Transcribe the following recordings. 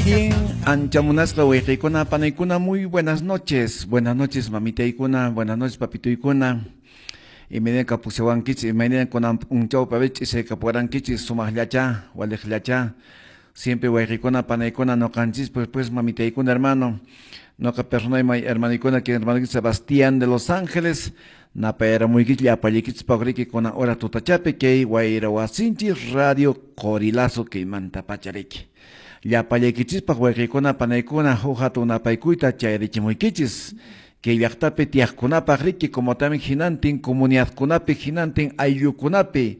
Bien, anchamunasqa wayqiykuna panaykuna, muy buenas noches. Buenas noches, mamitaykuna, buenas noches, papituykuna. Imayna kapusiwankichis, imayna kunan p'unchawpi ch'isaykapuwarankichis, sumaqllacha, waliqllacha. Siempre wayqiykuna panaykuna noqanchis, pues mamitaykuna, hermano. Noqa personay hermanoykuna, que hermano Sebastián de Los Ángeles, napayaramuykich llapallaykichis paqriki kunan hora tutachapi kay wayra wasinchis Radio Qorilazo kaymanta pachariki. Llapallaykichispaq wayqiykuna panaykuna huk hatun napaykuyta chayarichimuykichis. Kay llaqtapi tiyaqkunapaq riki, como también hinantin comunidadkunapi, hinantin ayllukunapi,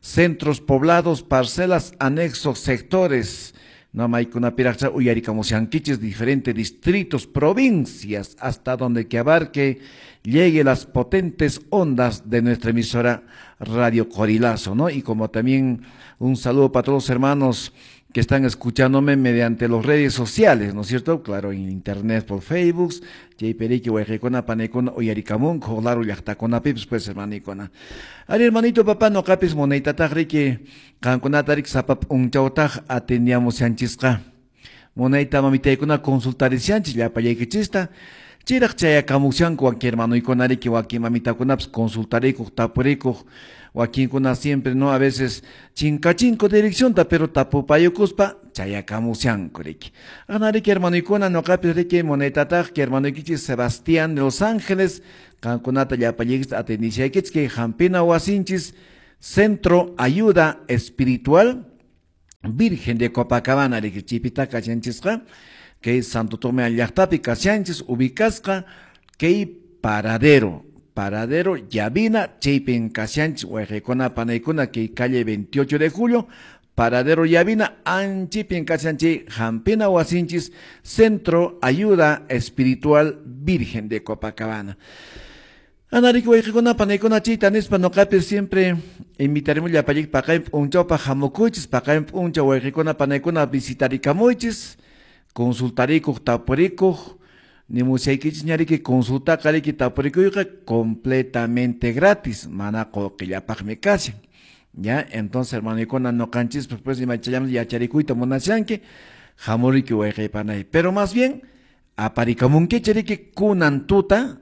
centros poblados, parcelas, anexos, sectores, no maykunapiraqcha uyarikamushankichis diferentes distritos, provincias, hasta donde que abarque llegue las potentes ondas de nuestra emisora Radio Qorilazo, ¿no? Y como también un saludo para todos los hermanos que están escuchándome mediante las redes sociales, ¿no es cierto? Claro, en internet, por Facebook, chaypi wayqiykuna, panaykuna, uyarikamunku, laru llaqtakunapipis, pues, hermanikuna. Ari, hermanito, papá, noqapis munaytataq riki, qankunata riki sapa p'unchawtaq atendíamos-yanchisqa. Munayta mamitaykuna consultarisyanchis llapallaykichista. Chayraq chayakamushanku wakin hermanoykuna riki, wakin mamitakunapis consultarikuq, tapurikuq, wakinkuna siempre, ¿no? A veces chinkachinko direccionta, pero tapupayukuspa chayakamushanku riki. Ana riki hermanoykuna, noqapis riki munaytataq que hermanoykichis Sebastián de Los Ángeles, qankunata llapallaykichis atendishaykichis kay hampina wasinchis Centro Ayuda Espiritual Virgen de Copacabana riki chipita kashanchisqa, kay Santo Tomé llaqtapi kashanchis ubicasqa kay paradero Llavina, chaypin kashanchis wayqiykuna panaykuna kay calle 28 de julio, paradero Llavina, anchipin kashanchis hampina wasinchis Centro Ayuda Espiritual Virgen de Copacabana. Anariki wayqiykuna panaykuna chayta nispa noqapis siempre invitaremos llapallayki paqarin p'unchawpaq hamukuychis, paqarin p'unchaw wayqiykuna panaykuna visitarikamuychis, consultarikuq, tapurikuq, nimushaykichis ñariki consultaqa riki tapurikuyqa completamente gratis, mana qullqillapaqmi kashan. Ya, entonces hermanoykuna noqanchis pues imachallamos yacharikuyta munashanki, hamuriki wayqiypanay. Pero más bien aparikamunkichis riki kunan tuta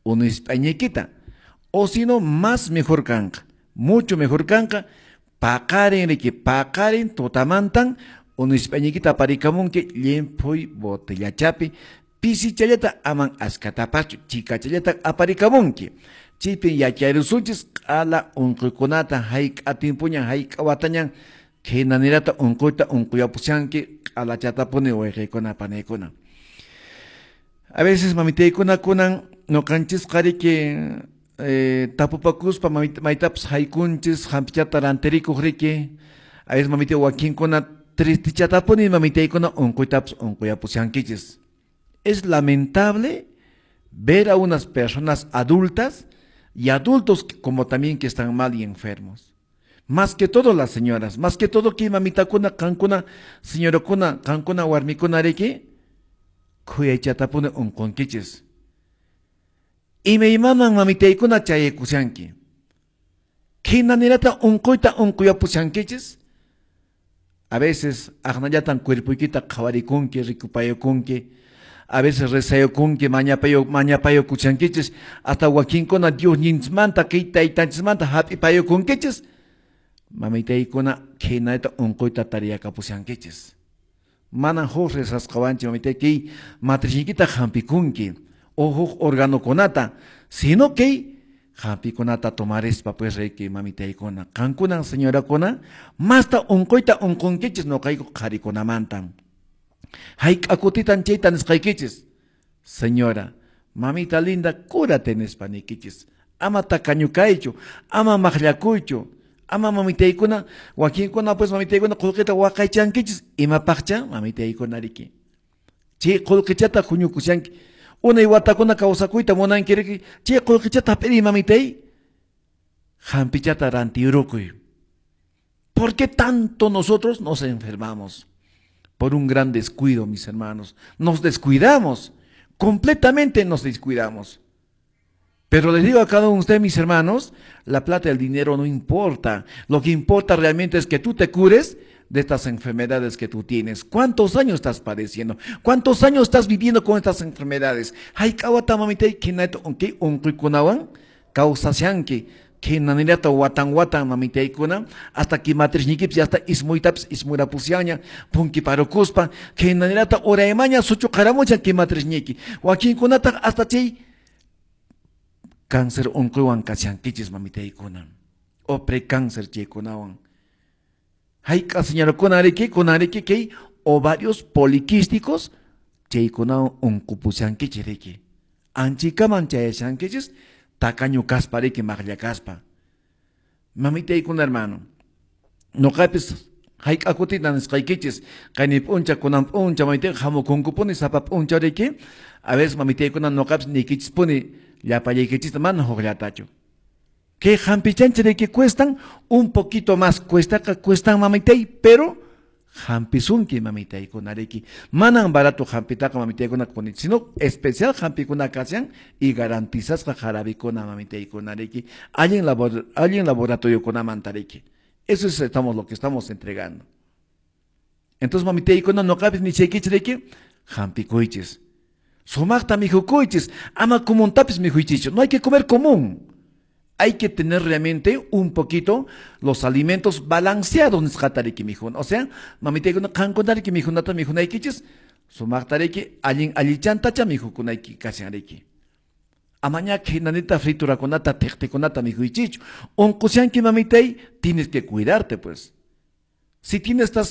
unispañiykita, o si no más mejor kanqa, mucho mejor kanqa, paqarin riki, paqarin tutamantan unispañiykita aparikamunki llimphuy botellachapi, pisichallata aman askatapachu, chikachallata aparikamunki. Chaypin yacharusunchis q'ala unquykunata hayk'a timpuñan hayk'a watañan khaynanirata unquyta unquyapushanki q'alachatapuni wayqiykuna panaykuna. A veces mamitaykuna kunan noqanchisqa riki tapupakuspa maytapas haykunchis hampichata rantirikuq riki. A veces mamitay wakinkuna tristechatapuni mamitaykuna unquytapas unquyapushankichis. Es lamentable ver a unas personas adultas y adultos como también que están mal y enfermos. Más que todo las señoras, más que todo que mamitakuna, qankuna, señorakuna, qankuna, warmikuna riki, khuyaychatapuni unqunkichis. Imaymaman mamitaykuna chayaykushanki. Khinanirata unquyta unquyapushankichis. A veces aqnallatan cuerpoykita qhawarikunki, rikupayukunki. A veces rezayukunki, mañapayukushankichis, hasta wakinkuna Dios ninchismanta, kay taytanchismanta hap'ipayukunkichis. Mamitaykuna khinanita unquyta tariyakapushankichis. Manan huk rezasqawanchik mamitay kay matrichiykita hampikunki o huk organokunata, sino kay hampikunata tomarispa pues riki mamitaykuna. Qankunan señorakuna masta unquyta unqunkichis noqayku qharikunamanta. Hayk'a kutitan chayta nisqaykichis. Señora, mamita linda, cúrate nispa niykichis. Ama takañukaychu, ama maqllakuychu, ama mamitaykuna, wakinkuna pues mamitaykuna qullqita waqaychankichis, imapaqcha mamitaykuna riki. Chay qullqichata huñukushanki. Unay watakuna kawsakuyta munanki riki, chay qullqichata hap'iri mamitay, hampichata rantiyurukuy. ¿Por qué tanto nosotros nos enfermamos? Por un gran descuido, mis hermanos. Nos descuidamos, completamente nos descuidamos. Pero les digo a cada uno de ustedes, mis hermanos, la plata y el dinero no importa. Lo que importa realmente es que tú te cures De estas enfermedades que tú tienes? ¿Cuántos años estás padeciendo? ¿Cuántos años estás viviendo con estas enfermedades? Hayk'a wata, mamitay, khinata kay unquykunawan kawsashanki? Khinanillata watan watan, mamitaykuna, hasta que matrisniykipis hasta ismuytapis ismurapusyanña punkiparukuspa, khinanillata uraymaña suchuqaramuchan kay matrisniyki. Wakinkunataq hasta chay cáncer unquywan kashankichis, mamitaykuna, o precáncer chaykunawan. Hayk'a señorakuna riki kunariki kay ovarios poliquísticos chaykunawan unqupushankichis riki? Anchikaman chayashankichis tacaño kaspa riki, maqlla kaspa. Mamitaykuna, hermano, noqapis hayk'a kutita nisqaykichis, qayni p'uncha, kunan p'uncha, mamitay, hamukunkupuni sapa p'uncha riki. A veces, mamitaykuna, noqapis niykichispuni llapallaykichista, mana hukllatachu. Kay hampichanchik riki cuestan un poquito más, cuestaqa cuestan, mamitay, pero hampisunki, mamitaykuna riki. Manan barato hampitaqa, mamitaykuna, sino especial hampikuna kashan y garantizasqa jarabikuna, mamitaykuna riki, allin laboratoriokunamanta riki. Eso es lo que estamos entregando. Entonces, mamitaykuna, noqapis nichaykichis riki, hampikuychis. Sumaqta mikhukuychis, ama comuntapis mikhuychischu. No hay que comer común. Hay que tener realmente un poquito los alimentos balanceados nisqata riki mikhuna. O sea, mamitaykuna, qamkuna riki mikhunata mikhunaykichis, sumaqta riki allin allichantacha mikhukunayki kashan riki. Amaña khinanita friturakunata, thiqtikunata mikhuychischu. Unqushanki, mamitay, tienes que cuidarte, pues. Si tienes estas